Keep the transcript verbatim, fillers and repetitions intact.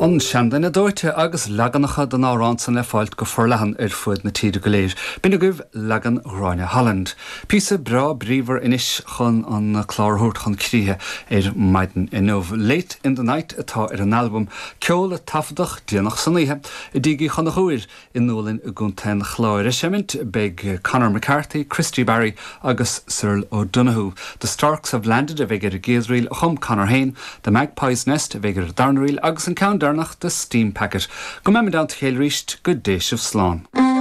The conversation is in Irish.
An Seanduine Dóite agus leaganacha den amhrán san le fáilt go forleathan ar fud na tíre go léir. B'in agaibh leagan Ghráinne Holland. Píosa breá bríomhar anois chun an clár a thabhairt chun críche ar maidin inniu. Late in the Night atá ar an albam ceol a taifeadadh déanach san oíche i dTigh Uí Chonchúir i nDúlainn i gContae an Chláir. Ag seimint beidh Conor McCarthy, Christy Barry agus Cyril O'Donoghue. The Storks have landed a bheidh ar an gcéad ríl a chum Conor féin, The Magpie's Nest a bheidh ar an darna ríl agus an ceann deireanach The Steam Packet. Go mbeimid ann arís go dté sibh slán.